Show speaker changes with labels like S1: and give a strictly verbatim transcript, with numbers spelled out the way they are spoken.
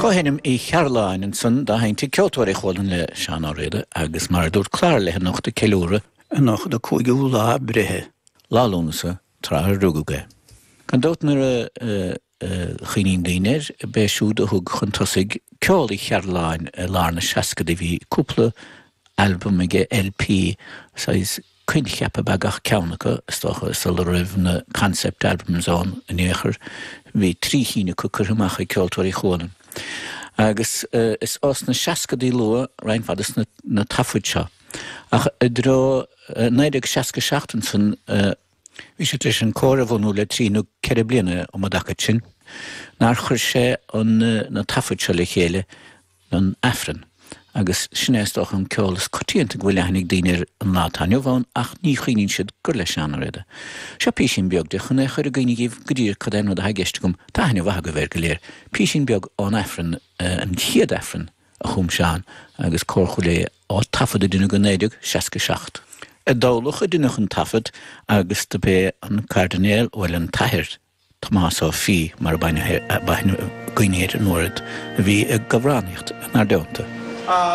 S1: Comhsheinm Uí Chearúlláin ansan dá sheinnt ag Ceoltóirí Chualann le Seán Ó Riada agus mar a dúirt Clara léi anocht ag ceiliúradh anocht a cúigiú lá breithe lá Lúnasa tráth a rugadh é. Gan dabht nuair a chuimhníonn daoine air, b'é siúd a thug chun tosaigh ceol Uí Chearúlláin i lár na seascadaí bhí cúpla albam aige LP saghas coincheap ab ea gach ceann acu, is dócha, sula raibh na concept albums ann in aon chor. Bhí trí chinn acu curtha amach ag Ceoltóirí Chualann. Agus is ós na seascadaí luath roinnt mhaith de na taifid seo. Ach i dtreo naoi déag seasca seacht ansan, bhí sé tar éis an cór a bhunú le trí nó ceithre bliana um an dtaca sin, nár chuir sé an na taifid seo le chéile don Aifreann. Agus sin é is dócha an ceol is coitianta go bhfuil aithne ag daoine air an lá atá inniu ann ach ní chuimhníonn siad gur le Seán Ó Riada. Seo písín beag de chun é a chur i gcuimhne dhaoibh go díreach cad é an rud atá i gceist agam. Tá aithne mhaith agaibh air go léir. Písín beag ón Aifreann, an chéad Aifreann a chum Seán agus Cór Chúil Aodha á taifead a deineadh i naoi déag seasca seacht. I dTamhlacht a deineadh an taifead agus do b'é an Cairdinéal, bhuel an tAthair, Tomás Ó Fiaich, mar a b'aithne againn air an uair a bhí ag amhránaíocht in ard.